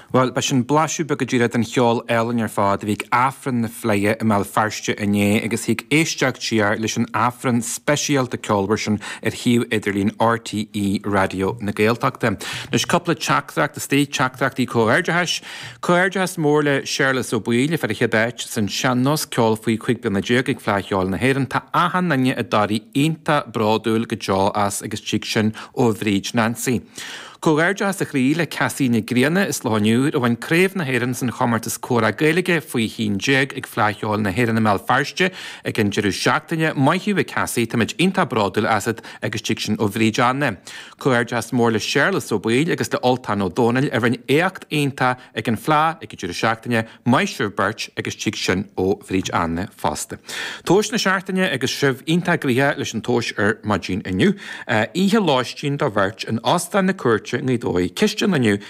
Bhuel, b'shin blaiseadh beag go díreach den cheol álainn ar fad a bhí ag Aifreann na Fleidhe i mBéal Feirste inné agus thig éisteacht siar leis an Aifreann speisialta ceolmhar sin ar shuíomh idirlín RTÉ Raidió na Gaeltachta. Anois cúpla teachtaireacht istigh, teachtaireachtaí comhghairdeachais. Comhghairdeachas mór le Séarlas Ó Baoill a fuair an chéad áit san sean-nós, ceol faoi 15 bliana ag Fleadh Cheoil na hÉireann. Tá achan duine i dToraigh iontach bródúil go deo as agus tig sin ó Bhríd Nancy. Comhghairdeachas ó chroí le Cassie Nic Grianna as Loch an Iúir a bhain Craobh na hÉireann san chomórtas Comhrá Gaeilge faoi 11 ag Fleadh Cheoil na hÉireann i mBéal Feirste ag an deireadh seachtaine. Maith thú a Cassie, táimid iontach bródúil asat agus tig sin ó Bhríd Anna. Comhghairdeachas mór le Séarlas Ó Baoill agus le Ultán Ó Dónaill a rinne éacht iontach ag an Fleadh ag an deireadh seachtaine. Maith sibh beirt agus tig sin ó Bhríd Anna fosta. Tomhas na seachtaine agus sibh iontach gnoitheach leis an tomhas ar maidin inniu. Oíche lóistín do bheirt in Óstán na Cúirte i nGaoth Dobhair. Ceist an lae inniu.